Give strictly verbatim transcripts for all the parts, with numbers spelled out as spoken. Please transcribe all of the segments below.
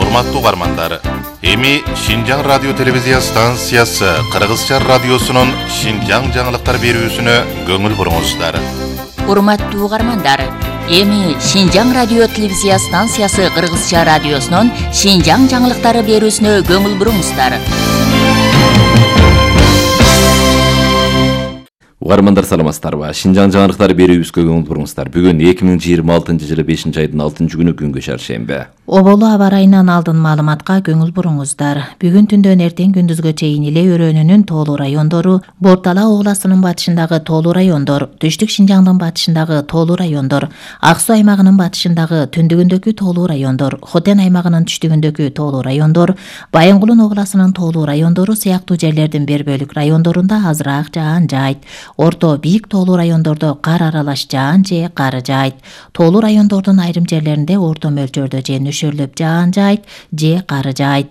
Урматтуу угармандар, эми Шинжаң радио телевизия станциясы Кыргызча радиосунун Шинжаң жаңылыктар берүүсүнө көңүл буруңуздар. Урматтуу угармандар, эми Шинжаң радио телевизия станциясы Кыргызча радиосунун Шинжаң жаңылыктары берүүсүнө көңүл буруңуздар. Угармандар саламатсыздарбы? Шинжаң жаңылыктары берүүбүзгө көңүл буруңуздар. Бүгүн эки миң жыйырма алтынчы жылы бешинчи айдын алтынчы күнү күнгө шаршемби. Оболу аба ырайынан алдын маалыматка көңүл буруңуздар. Бүгүн түндөн эртең күндүзгө чейин Иле өрөөнүнүн тоолуу райондору, Бортала областынын батышындагы тоолуу райондор, Түштүк Шинжаңдын батышындагы тоолуу райондор, Ак Суу аймагынын батышындагы түндүгүндөгү тоолуу райондор, Хотен аймагынын түштүгүндөгү тоолуу райондор, Байынгулун областынын тоолуу райондору сыяктуу жерлердин бир бөлүк райондорунда азыраак жаан жайт. Орто бийик тоолуу райондордо кар аралаш жаан же кар жайт. Тоолуу райондордун айрым жерлеринде орто мөлчөрдө же нөшөрлөп жаан жайт же кар жайт.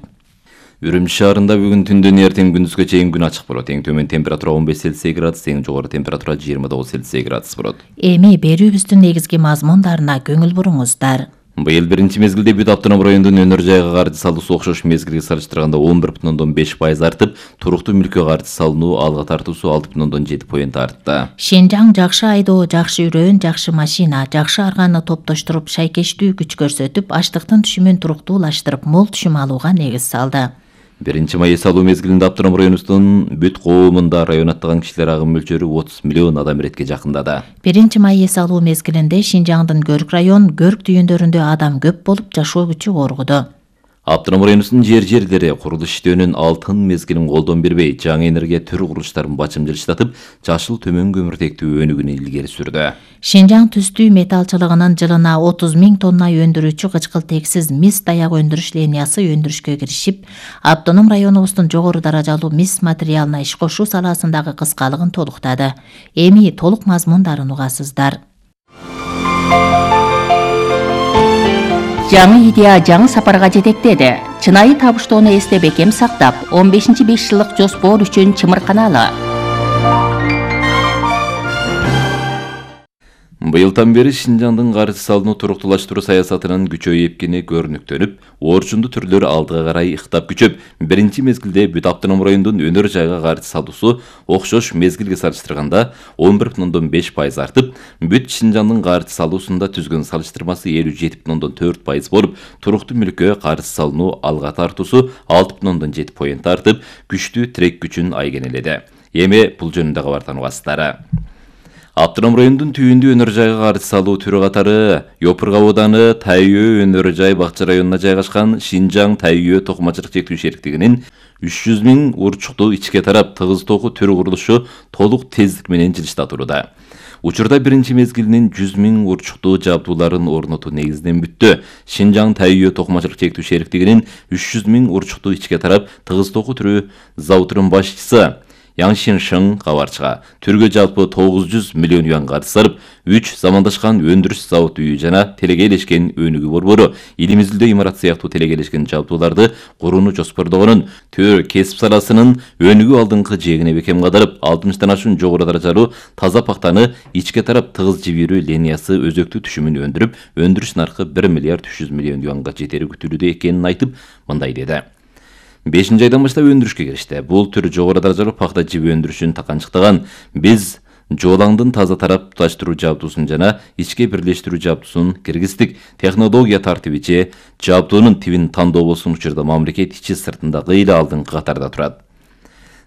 Үрүмчү шаарында бүгүн түндөн эртең күндүзгө чейин күн ачык болот. Эң төмөн температура он беш Цельсий градус, эң жогору температура жыйырма тогуз Цельсий градус болот. Эми берүүбүздүн негизги мазмундарына көңүл буруңуздар. Быйыл биринчи мезгилде бүт автоном райондун өнөр жайга каржы салуусу окшош мезгилге салыштырганда он бир бүтүн ондон беш пайыз артып, туруктуу мүлккө каржы салынуу алга тартуусу алты бүтүн ондон жети поинт артты. Шинжаң жакшы айдоо, жакшы үрөөн, жакшы машина, жакшы арганы топтоштуруп, шайкештүү күч көрсөтүп, ачтыктын түшүмүн туруктуулаштырып, мол түшүм алууга негиз салды. Биринчи май эс алуу мезгилинде автоном районубуздун бүт коомунда район аттаган кишилер агым мөлчөрү отуз миллион адам иретке жакындады. Биринчи май эс алуу мезгилинде Шинжаңдын Көрк район, Көрк түйүндөрүндө адам көп болуп, жашоо күчү оргуду. Автоном районубуздун жер-жерлери курулуш иштөөнүн алтын мезгилин колдон бербей, жаңы энергия түрү курулуштарын бачым жылыштатып, жашыл төмөн көмүртектүү өнүгүүнү илгери сүрдү. Шинжаң түстүү металлчылыгынын жылына отуз миң тонна өндүрүүчү кычкылтексиз мис даяк өндүрүш линиясы өндүрүшкө киришип, автоном районубуздун жогору даражалуу мис материалына иш кошуу саласындагы кыскалыгын толуктады. Эми толук мазмундарын угасыздар. Жаңы идея жаңы сапарга жетектеди. Чынайы табыштоону эсте бекем сактап, он бешинчи беш жылдык жоспор үчүн чымырканалы. Быйылдан бери Шинжаңдын каржы салынуу туруктуулаштыруу саясатынын күчөйүп экени көрүнүктөнүп, орчундуу түрлөр алдыга карай ыктап күчөп, биринчи мезгилде бүт автоном райондун өнөр жайга каржы салуусу окшош мезгилге салыштырганда он бир бүтүн ондон беш пайыз артып, бүт Шинжаңдын каржы салуусунда түзгөн салыштырмасы элүү жети бүтүн ондон төрт пайыз болуп, туруктуу мүлккө каржы салынуу алга тартуусу алты бүтүн ондон жети поинт артып, күчтүү тирек күчүн айгенеледи. Эми бул жөнүндө кабардан угасыздар. Автоном райондун түйүндүү өнөр жайга каржы салуу түрү катары Йопурга ауданы Тайөө өнөр жай бакча районуна жайгашкан Шинжаң Тайөө токумачылык чектүү шериктигинин үч жүз миң урчуктуу ичке тарап тыгыз токуу түрү курулушу толук тездик менен жылыштатууда. Учурда биринчи мезгилинин жүз миң урчуктуу жабдууларын орнотуу негизинен бүттү. Шинжаң Тайөө токумачылык чектүү шериктигинин үч жүз миң урчуктуу ичке тарап тыгыз токуу түрү заводунун башчысы Яңшин кабарчыга түргө жалпы тогуз жүз миллион юан каржы сарып, үч замандашкан өндүрүш завод үйү жана телегейлешкен өнүгүү борбору элибизде имарат сыяктуу телегейлешкен жабдууларды курууну жоспордогонун, төр кесип саласынын өнүгүү алдыңкы жээгине бекем кадырып, алтымыштан ашуун жогору даражалуу таза пактаны ичке тарап тыгыз жибирүү линиясы өзөктүү түшүмүн өндүрүп, өндүрүш наркы бир миллиард үч жүз миллион юанга жетери күтүлүүдө экенин айтып, мындай деди. бешинчи айдан баштап өндүрүшкө киришти. Бул түр жогору даражалуу пакта жиби өндүрүшүн таканчыктаган. Биз жолаңдын таза тарап туташтыруу жабдуусун жана ичке бирлештирүү жабдуусун киргиздик. Технология тартиби же жабдуунун тибин тандоо болсун учурда мамлекет ичи сыртында кыйла алдыңкы катарда турат.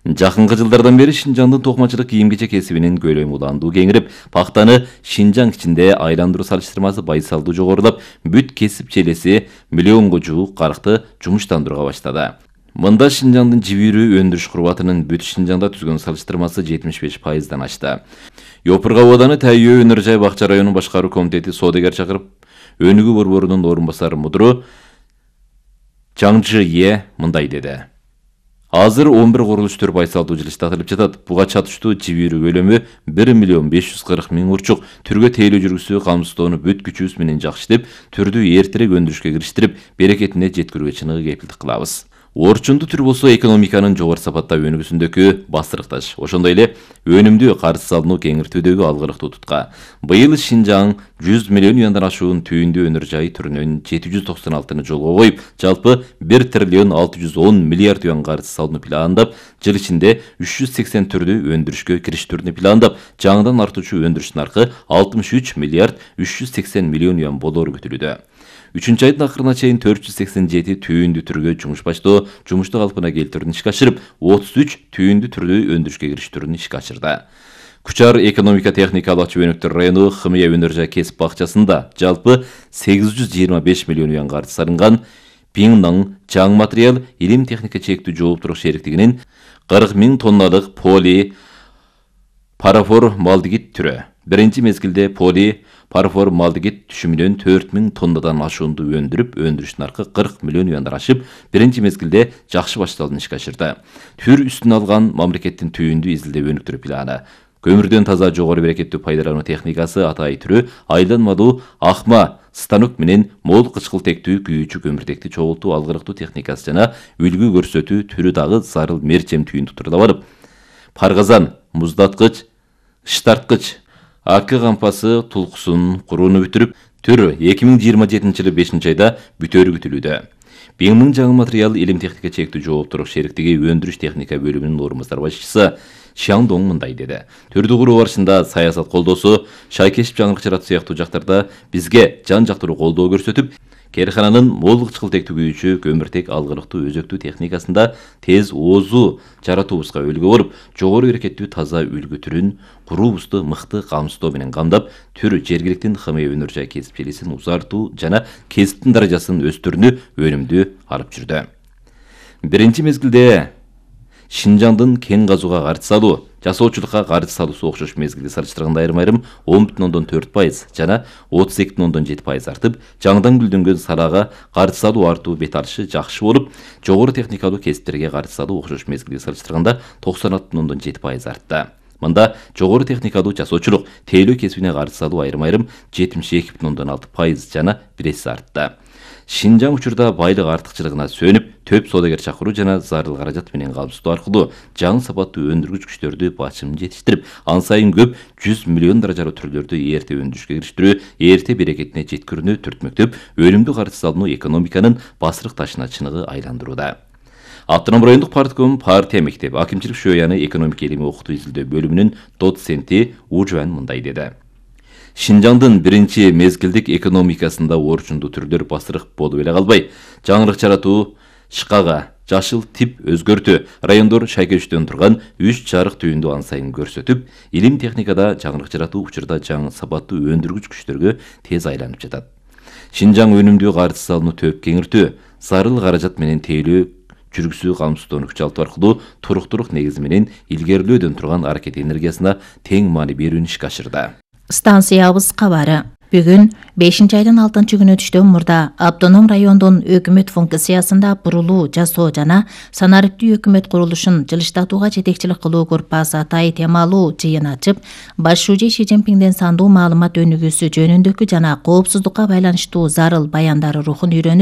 Жакынкы жылдардан бери Шинжаңдын токумачылык кийим-кечек кесибинин көлөмү уландуу кеңирип, пактаны Шинжаң ичинде айландыруу салыштырмасы байсалдуу жогорулап, бүт кесип челеси миллионго жуук каракты жумуштандырууга баштады. Мында Шинжаңдын жибирүү өндүрүш курбатынын бүт Шинжаңда түзгөн салыштырмасы жетимиш беш пайыздан ашты. Йопурга ауданы Тайөө өнөр жай бакча районунун башкаруу комитети соодагер чакырып, өнүгүү борборунун орун басары мудру Чаңжы Е мындай деди. Азыр он бир курулуш төр байсалдуу жылыштатылып жатат. Буга чатыштуу жибирүү көлөмү бир миллион беш жүз кырк миң урчук. Түргө тейлөө жүргүзүү камсыздоону бүт күчүбүз менен жакшы иштеп, түрдү эртерээк өндүрүшкө кириштирип, берекетине жеткирүүгө чыныгы кепилдик кылабыз. Орчунду түр болсо экономиканын жогору сапатта өнүгүүсүндөгү бастырыкташ. Ошондой эле өнүмдүү карыз салынуу кеңиртүүдөгү алгырыктуу тутка. Быйыл Шинжаң жүз миллион юандан ашуун түйүндүү өнөр жай түрүнөн жети жүз токсон алтыны жолго коюп, жалпы бир триллион алты жүз он миллиард юан карыз салууну пландап, жыл ичинде үч жүз сексен түрдүү өндүрүшкө кириштүүнү пландап, жаңыдан артуучу өндүрүш наркы алтымыш үч миллиард үч жүз сексен миллион юан болоору күтүлүүдө. Үчүнчү айдын акырына чейин төрт жүз сексен жети түйүндүү түргө жумуш баштоо, жумушту калпына келтирүүнү ишке ашырып, отуз үч түйүндүү түрдүү өндүрүшкө кириштүүнү ишке ашырды. Кучар экономика техникалык чөйнөктөр району Хымыя өнөр жай кесип бакчасында жалпы сегиз жүз жыйырма беш миллион юан карыз салынган. Пиңнан жаң материал илим техника чектүү жооптурук шериктигинин кырк миң тонналык поли парафор малдигит түрү. Биринчи мезгилде поли парафор малдигит түшүмүнөн төрт миң тоннадан ашуунду өндүрүп, өндүрүш наркы кырк миллион юандан ашып, биринчи мезгилде жакшы башталууну ишке ашырды. Түр үстүнө алган мамлекеттин түйүндүү изилдөө өнүктүрүү планы. Көмүрдөн таза жогору берекеттүү пайдалануу техникасы атай түрү айланмалуу акма станок менен мол кычкыл тектүү күйүүчү көмүртекти чогултуу алгырыктуу техникасы жана үлгү көрсөтүү түрү дагы зарыл мерчем түйүндү турда барып, паргазан, муздаткыч, ыштарткыч, акы кампасы тулкусун курууну бүтүрүп, түр эки миң жыйырма жетинчи жылы бешинчи айда бүтөөрү күтүлүүдө. Пиңнин жаңы материал илим техника чектүү жооптурук шериктиги өндүрүш техника бөлүмүнүн орунбасар башчысы Шаңдоң мындай деди. Түрдү куруу барышында саясат колдоосу, шайкешип жаңырык жаратуу сыяктуу жактарда бизге жан жактыруу колдоо көрсөтүп, кээрхананын мол кычкыл тектүү күйүүчү көмүртек алгырыктуу өзөктүү техникасында тез оозу жаратуубузга үлгү болуп, жогору берекеттүү таза үлгү түрүн куруубузду мыкты камсыздоо менен камдап, түр жергиликтин Хымыя өнөр жай кесипчилигин узартуу жана кесиптин даражасын өстүрүүнү өнүмдүү алып жүрдү. Биринчи мезгилде Шинжаңдын кен казууга карыз салуу, жасоочулукка карыз салуусу окшош мезгилди салыштырганда айрым-айрым он бүтүн ондон төрт пайыз жана отуз эки бүтүн ондон жети пайыз артып, жаңыдан гүлдөнгөн салаага карыз салуу артуу бет алышы жакшы болуп, жогору техникалуу кесиптерге карыз салуу окшош мезгилди салыштырганда токсон алты бүтүн ондон жети пайыз артты. Мында жогору техникалуу жасоочулук, тейлөө кесибине карыз салуу айрым-айрым жетимиш эки бүтүн ондон алты пайыз жана бир эсе артты. Шинжаң учурда байлык артыкчылыгына сөнүп, төп соодагер чакыруу жана зарыл каражат менен камсыздоо аркылуу жаңы сапаттуу өндүргүч күчтөрдү бачымын жетиштирип, ан сайын көп жүз миллион даражалуу түрлөрдү эрте өндүрүшкө кириштирүү, эрте берекетине жеткирүүнү түртмөктөп, өнүмдүү карыз салынуу экономиканын басырык ташына чыныгы айландырууда. Автоном райондук партком партия мектеби акимчилик шөйяны экономика илими окутуу изилдөө бөлүмүнүн доценти Ужуан мындай деди. Шинжаңдын биринчи мезгилдик экономикасында орчундуу түрлөр басырык болуп эле калбай, жаңырык жаратуу, шкага, жашыл тип өзгөртүү, райондор шайкештөн турган үч жарык түйүндү ан сайын көрсөтүп, илим техникада жаңырык жаратуу учурда жаңы сапаттуу өндүргүч күчтөргө тез айланып жатат. Шинжаң өнүмдүү карыз салууну төп кеңиртүү, зарыл каражат менен тейлөө жүргүсү камсыздоону күчалтуу аркылуу туруктуулук негизи менен илгерилөөдөн турган аракет энергиясына тең маани берүүнү ишке ашырды. Станциябыз кабары. Бүгүн бешинчи айдын алтынчы күнү түштөн мурда автоном райондун өкмөт функциясында бурулуу жасоо жана санариптүү өкмөт курулушун жылыштатууга жетекчилик кылуу группасы атай темалуу жыйын ачып, баш шужий Ши Цзиньпинден сандуу маалымат өнүгүүсү жөнүндөгү жана коопсуздукка байланыштуу зарыл баяндары рухун үйрөнүп,